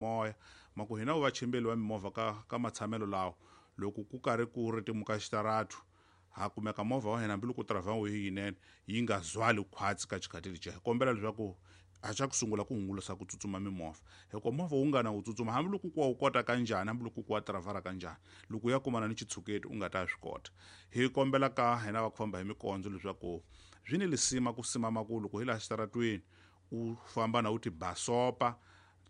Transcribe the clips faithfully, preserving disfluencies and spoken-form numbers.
Moya ma ku hina vachimbeli va mimovha ka ka matshamelo lawa loko ku karhi ku ritimuka xitaratu ha kumeka movha wa hina hambiloko driver wu yinene yi nga zwali khwatsi ka xikhathi lexiya. Hi kombela leswaku a xa ku sungula ku hungusa ku tsutsuma mimovha hikuva movha wu nga na wu tsutsuma hambiloko ku wa wu kota ka njhani, hambiloko ku wa dirayivhara ka njhani, loko u ya kumana ni xitshuketi u nga ta swi kota. Hi kombela ka hina va ku famba hi mikondzo leswaku swi ni lisima ku simama ku loko hi laha xitaratweni u famba na u ti basopa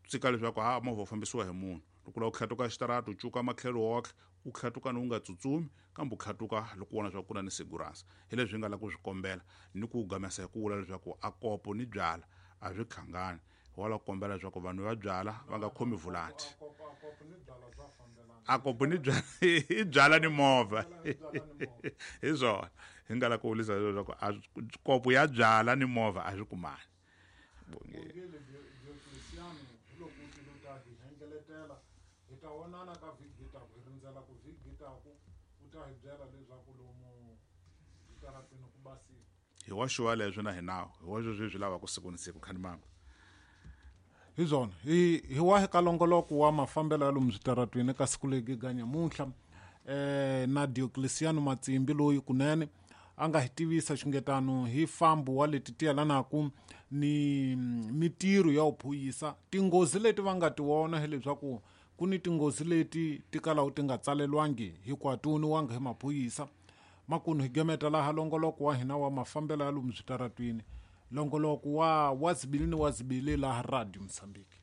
tsika leswaku ha movha wu fambisiwa hi munhu. Loko u lava ku tlhatuka xitarata u cuka matlhelo woxe u tlhatuka ni u nga tsutsumi kambe u tlhatuka loko u vona leswaku ku na ni sigurance. Hi leswi hi nga lava ku swi kombela ni ku gamesa hi ku vula leswaku a kopo ni byala a swi hlangani. Hi wala ku kombela leswaku vanhu va byala va nga khomi vulanti. A kopo ni byala i byala ni movha hi swona hi nga lava ku vulisa leswaku a kopo ya byala ni movha a swi kumani. Bongile Diocleciano hi loko u tile u ta hi hengeletela hi ta vonana ka vhiki yi taku hi rindzela ku vhiki yi taku u ta hi byela leswaku lomu switarateni ku basile. Hi wa xuwa leswo na hinawu hi wa sweswi hi swi lavaka siku ni siku khani mama. Hi swona hi hi wahi ka longoloko wa mafambelo ya lomu switaratweni ka siku leri ga nyamuntlha eh na Diocleciano Matsimbi loyi kunene a nga hi tivisa xungetano hi fambo wa leti ti yelanaku ni mitirho ya vuphuyisa. Tinghozi leti va nga ti vona hileswaku ku ni tinghozi leti ti kalaku ti nga tsalelwangi hikuva ti voniwanga hi maphorisa. Makumu hi gemeta laha longoloko wa hina wa mafambelo ya lomu switaratwini, longoloko wa wa zibili ni wa zibili laha Radio Mozambique.